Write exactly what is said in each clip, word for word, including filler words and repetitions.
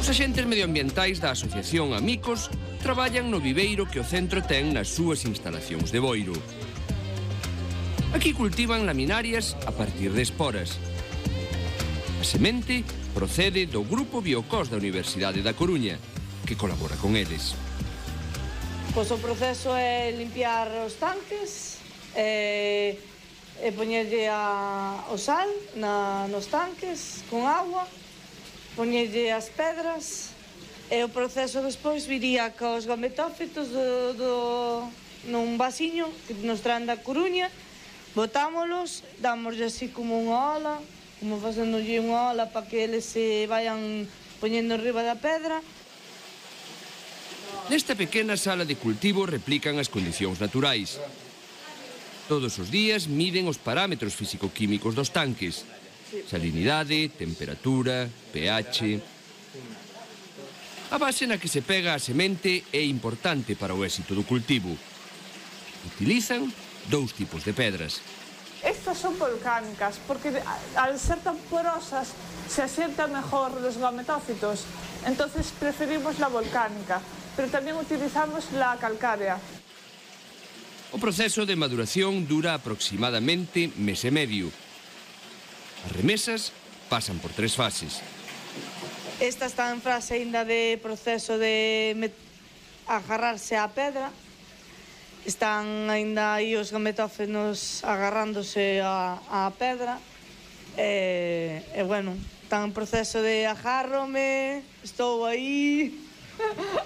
Os axentes medioambientais da Asociación Amicos traballan no viveiro que o centro ten nas súas instalacións de Boiro. Aquí cultivan laminarias a partir de esporas. A semente procede do Grupo Biocos da Universidade da Coruña, que colabora con eles. Pois o proceso é limpiar os tanques, e, e poñerlle a, o sal na, nos tanques con agua, poñerlle as pedras, e o proceso despois viría cos gametófitos do, do, nun vasiño que nos traen da Coruña, botámolos, dámoslle así como unha ola, como facéndolle unha ola para que eles se vayan poñendo arriba da pedra. Nesta pequena sala de cultivo replican as condicións naturais. Todos os días miden os parámetros físico-químicos dos tanques: salinidade, temperatura, pH. A base na que se pega a semente é importante para o éxito do cultivo. Utilizan dous tipos de pedras. Estas son volcánicas, porque al ser tan porosas se asientan mejor los gametófitos. Entonces preferimos la volcánica, pero también utilizamos la calcárea. O proceso de maduración dura aproximadamente mes e medio. As remesas pasan por tres fases. Esta está en fase ainda de proceso de agarrarse á pedra. Están ainda aí os gametófitos agarrándose á, á pedra. E, e, bueno, están en proceso de agárrome, estou aí,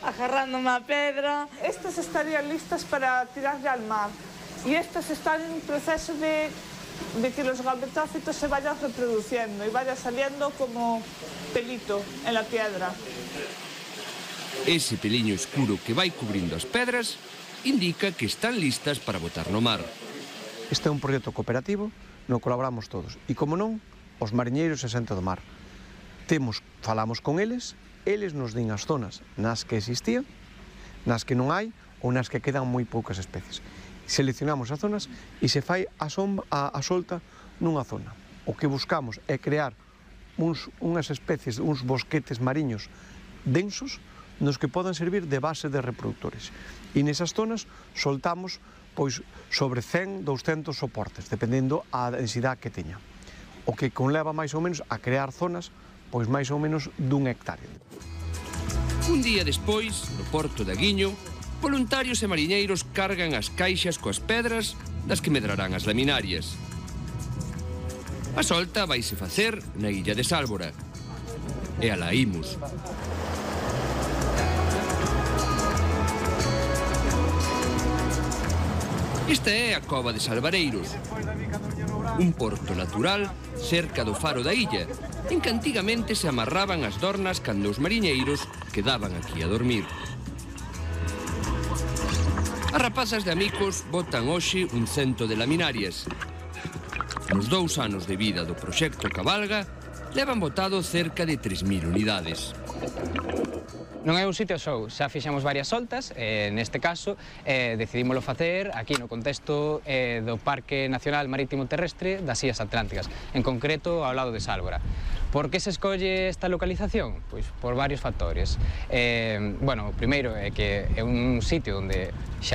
agarrándome á pedra. Estas estarían listas para tirarle al mar. Y estas están en proceso de, de que los gametófitos se vayan reproduciendo y vaya saliendo como pelito en la piedra. Ese peliño escuro que vai cubrindo as pedras indica que están listas para botar no mar. Este é un proxecto cooperativo no colaboramos todos e, como non, os mariñeiros e xente do mar. Temos, falamos con eles, eles nos din as zonas nas que existían, nas que non hai ou nas que quedan moi poucas especies. Seleccionamos as zonas e se fai a, sombra, a, a solta nunha zona. O que buscamos é crear uns, unhas especies, uns bosquetes mariños densos nos que podan servir de base de reproductores. E nesas zonas soltamos pois sobre cen, douscentos soportes, dependendo a densidade que teña. O que conleva máis ou menos a crear zonas pois máis ou menos dun hectárea. Un día despois, no porto de Aguiño, voluntarios e mariñeiros cargan as caixas coas pedras das que medrarán as laminarias. A solta vaise facer na illa de Sálvora. E alá imos. Esta é a Cova de Salvareiros, un porto natural cerca do faro da illa, en que antigamente se amarraban as dornas cando os mariñeiros quedaban aquí a dormir. As rapazas de Amicos botan hoxe un cento de laminarias. Nos dous anos de vida do proxecto Cabalga, levan botado cerca de tres mil unidades. Non é un sitio só, xa fixemos varias soltas, e neste caso eh, decidímoslo facer aquí no contexto eh, do Parque Nacional Marítimo Terrestre das Illas Atlánticas, en concreto ao lado de Sálvora. Por que se escolle esta localización? Pois por varios factores. Eh, bueno, o primeiro é que é un sitio onde xa